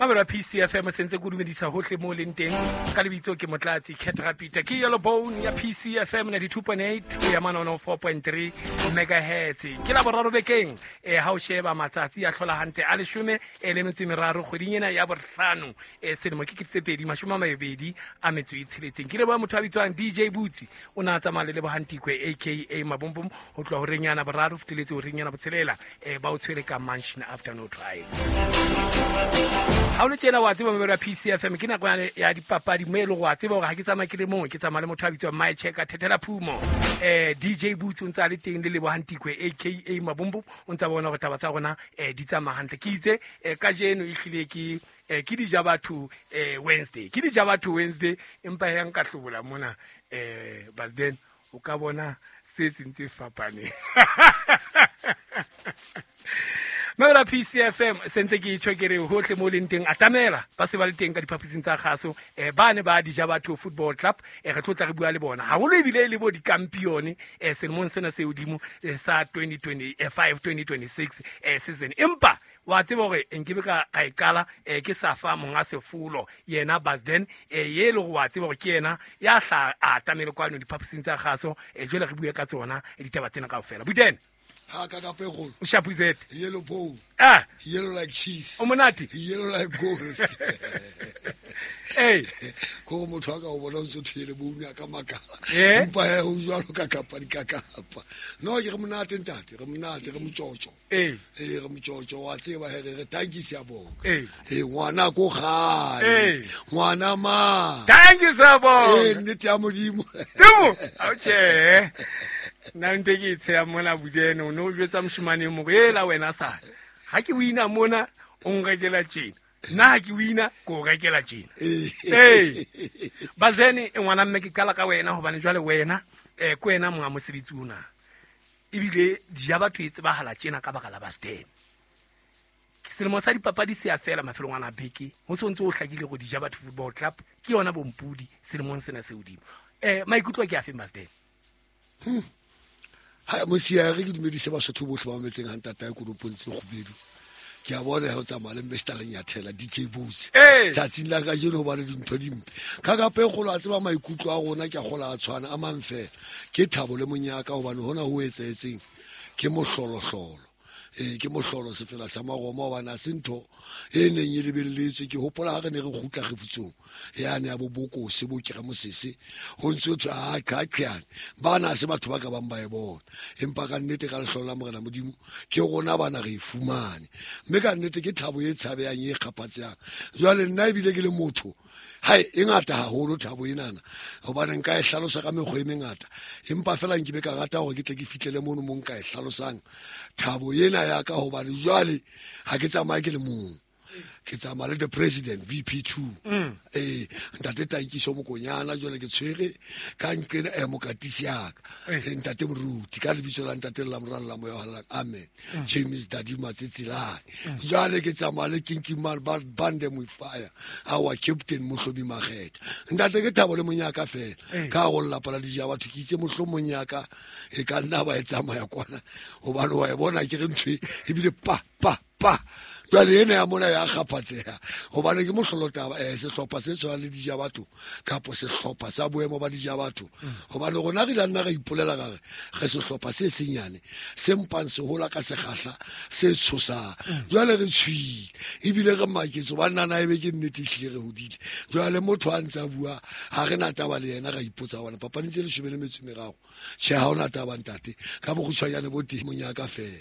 Mamelo ya PCFM sentse ke o dumedisa hohle mo leng teng ka lebitso ke Motlatsi Cat Rapita ke Yellow Bone ya PCFM 92.8 ho ya manono 4.3 megahertz ke la boraro bekeng e ha o sheba matsatsi a hlola hantle a leshome e le metso e meraro kgweding ena ya bohlano e selemo ke 2026 ke leboha motho a bitswang DJ Butsi o ne a tsamaya le Lebohantikwe aka Mabombom ho tloha horeng yana boraro feteletse horeng yana botshelela um ba o tshwere ka Mansion Afternoon Drive. Ha o le tjena wa tseba memero ya PCFM ke nako ya dipapadi mo e le go wa tseba gore ga ke tsamaya ke le mongwe ke tsamaya le motho a bitswang My Checker Thethela Phumo DJ Boots o ntse a le teng le Lebohantikwe aka Mabombo o ntse a bona gore taba tsa rona di tsamaya hantle ke itse kajeno e hlile ke ke dija batho Wednesday ke dija batho Wednesday empa he nka hlobola mona Basden o ka bona se tseng tse fapaneng Mebela PCFM sentse ke tjho ke re hohle mo leng teng atamela ba se ba le teng ka diphaposing tsa kgaso ba ne ba dija batho football club re tlo tla re bua le bona haholo ebile le bo dikampione selemong sena se hodimo sa 2025 2026 season empa wa tseba hore nkebe ka e qala ke sa fa monga sefolo yena Basden ye le go wa tseba hore ke yena ya hla a atamele kwano diphaposing tsa kgaso jwale re bue ka tsona ditaba tsena kaofela Buden ha ka ka pegolo Shapuzet yellow bone yellow like cheese o monate yellow like gold ee ko motho a ka o bona o ntse o yellow bone a ka makala Eh? empa he ho jwalo ka kapadi ka kapa no ke re monate ntate re monate re motsotso ee ee re motsotso wa tseba he re re thank you siyabonga Ee. ee ngwana ko gae Ee. ngwana ma thank you ee Siyabonga nnete ya modimo Temo ao tjhe nna ntho e ke e tsheya mona Budene o ne o jwetsa moshemane e mong ela wena sana ha ke wina mona o nrekela tjena nna ha ke wina ke o rekela tjena ee Basden ngwana mme ke qala ka wena hobane jwale wena ke wena monga mosebetsi ona ebile dija batho e tsebahala tjena ka baka la Basden selemo sa dipapadi se a fela mafelong ana a beke ho se ntse o hlakile go dija batho football club ke yona bompudi selemong sena se hodimo maikutlo ke a feng Basden ha mosiare ke dumedise basotho botlhe ba mametseng ga ntata ya konopong tse kgubedu ke a bona he o tsamaya le Mr Lenyathela DJ Boots Ee. tsatsing la kajeno hobane dintho dimpe ka kapa e kgolo a tseba maikutlo a rona ke a kgola a tshwana a mang fela ke thabo le monyaka hobane hona ho etsahetseng ke mohlolohlolo ee ke mohlolo sefela sa maroma hobane ha se ntho e neng e lebelletswe ke hopola ha re ne re kgutla kgefutsong yane ya bobokose bo kere mosese ho ntse ho thwe a qhaqhane bana ha se batho ba ka bang ba e bona empa ka nnete ka lehlolo la morena modimo ke rona bana re e fumane mme ka nnete ke thabo e tshabehang e kgaphatsehang jwale nna ebile ke le motho hai e ngata haholo thabo enana hobane nka e hlalosa ka mekgwa e mengata empa fela nke be ka rata hore ke tle ke fihlele mono mo nka e hlalosang thabo ena ya ka hobane jwale ha ke tsamaye ke le mong ke tsamaya le the president VP2 ee ntate Tankiso Mokonyana jwale ke tshwere ka nqena mokatisi yaka ntate moruti ka lebitso la ntate la moralo la moya wa halalelang amen James Dadi Matsetselane jwale ke tsamaya le Kinki Man ba bande with fire our captain Mohlomi Makgetha ntate ke thabo le monyaka fela ka go lelapa la dija batho ke itse mohlomong yaka e ka nna ba e tsamaya kwana hobane wa e bona ke re ntho e ebile pa pa pa jwale ena ya mona ya kgaphatseha hobane ke mohlolo taba sehlopha se tshwanang le dija batho kapo sehlopha sa boemo ba dija batho hobane rona re ile nna ra ipolela ka re re sehlopha se senyane se mpang se hola ka sekgahla se tshosang jwale re tshwile ebile re maketse hobane nana ebe ke nnete ehlile re hodile jwale motho a ntse a bua ha re na taba le yena ra ipotsa hobane papading tse 13 tjhe ha hona taba ntate ka bokgutshwanyane bo teng monyaka fela.